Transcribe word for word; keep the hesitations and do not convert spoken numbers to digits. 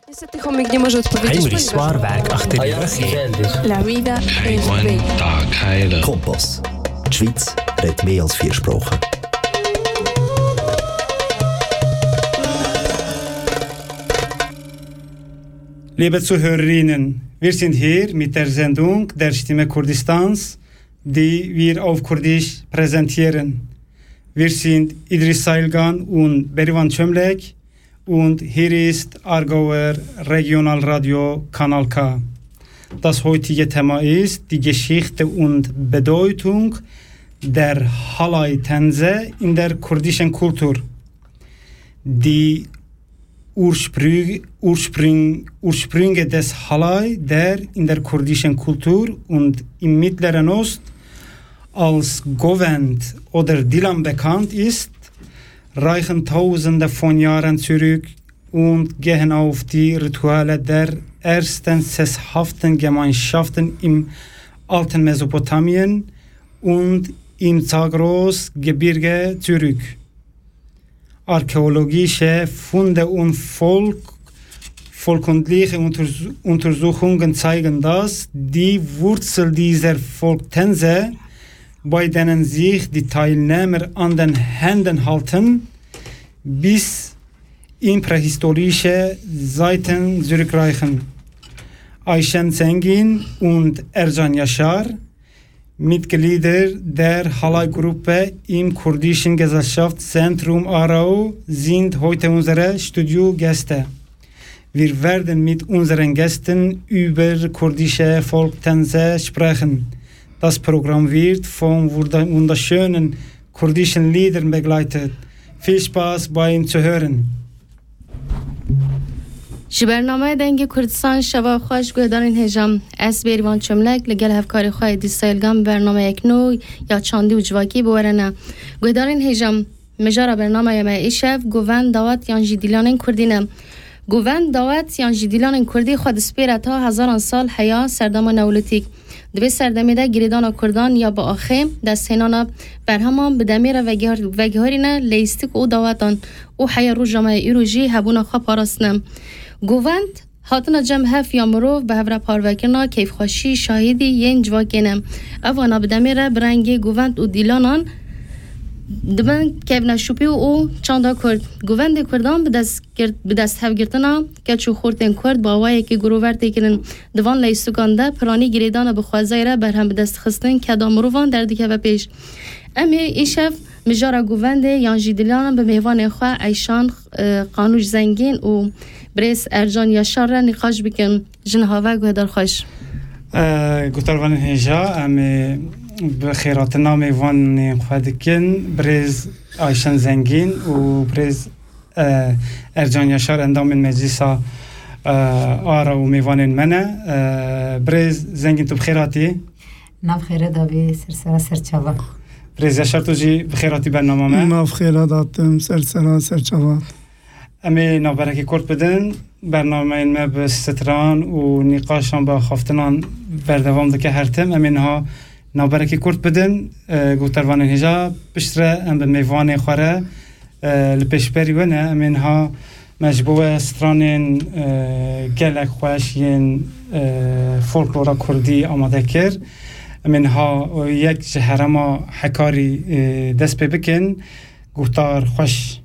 Niestety chomik nie może odpowiedzieć, Heinrich ponieważ Swarberg achter die Rüchtung. La vida es Heywan bella. Kompass. Die Schweiz redet mehr als vier Sprachen. Liebe Zuhörerinnen, wir sind hier mit der Sendung Der Stimme Kurdistans, die wir auf Kurdisch präsentieren. Wir sind Idris Sailgan und Berivan Çömlek und hier ist Aargauer Regionalradio Kanal K. Das heutige Thema ist die Geschichte und Bedeutung der Halay Tänze in der kurdischen Kultur. Die Ursprü-, Ursprüng-, Ursprünge des Halay, der in der kurdischen Kultur und im Mittleren Ost als Govend oder Dilan bekannt ist, reichen Tausende von Jahren zurück und gehen auf die Rituale der ersten sesshaften Gemeinschaften im alten Mesopotamien und im Zagros-Gebirge zurück. Archäologische Funde und Volk-, volkundliche Unters-, Untersuchungen zeigen, dass die Wurzel dieser Volktänze, bei denen sich die Teilnehmer an den Händen halten, bis in prähistorische Zeiten zurückreichen. Ayşen Zengin und Ercan Yaşar, Mitglieder der Halay-Gruppe im kurdischen Gesellschaftszentrum Aarau, sind heute unsere Studiogäste. Wir werden mit unseren Gästen über kurdische Volktänze sprechen. Das Programm wird von wunda-, wunderschönen kurdischen Liedern begleitet. Viel Spaß beim Zuhören. Ji bernameya Dengê Kurdistan şeva xweş guhdarên hêja. Ez Bêrîvan Çömlek li gel hevkarê xwe Êdî Sayilgan bi bernameyek nû ya çandî û civakî bi we re ne. Guhdarên hêja, mijara bernameya me îşev govend, dawet yan jî dîlanên kurdî ne. Govend, dawet yan jî dîlanên kurdî xwe dispêre ta hezaran sal heya serdema neolîtîk. Di vê serdemê de girêdana kurdan ya bi axê, desthênana berheman bi demê re vegihar-, vegiharîne leyîstik û dawetan û heya roja me ya îro jî hebûna xwe parastine. Govend, hatina cem hev ya mirov bi hev re parvekirina keyfxweşî, şahidî yên civakê ne. Ev wana bi demê re bi rengê govend û dîlanan dibin kevneşopî û çanda kurd. Govendê kurdan bi dest girt-, bi dest hevgirtina keç û xortên kurd bi awayekî girover tê kirin. Di van leystukan de piranî girêdana bi xwezayê re berhem bi dest xistin keda mirovan derdikeve pêş. Em ê îşev mijara govendê yan jî dîlanan bi mêvanên xwe Eyşan, e, Qanûş Zengîn û birêz Ercan Yaşar re nîqaş bikin. Ji niha ve guhdar xweş. E, guhdarvanên hêja, em ê bi xêrhatina mêvanên xwe dikin. Birêz Ayşen Zengîn û birêz, e, Ercan Yaşar endamên Meclisa, e, Aarau û mêvanên me ne. E, birêz Zengîn, tu bi xêr hatî. Nav xêre dabî, ser sera ser çava. Birêz Yaşar, tu jî bi xêr hatî bernama me. Nav xêre datim, ser sera ser çava. Em ê navberekî kurt bidin. Bernameyên me bi stran û nîqaşan, bi axaftinan berdewam dike her tim. Em ê niha navberekî kurt bidin. E, guhdarvanên hêja, piştre em bi mêvanê xwe re, e, li pêşberî we ne. Em ê niha me ji bo we stranên, e, gelek xweş yên, e, folklora kurdî amade kir. Em ê niha yek ji herêma Hekarî, e, dest pê bikin. Guhdar xweş.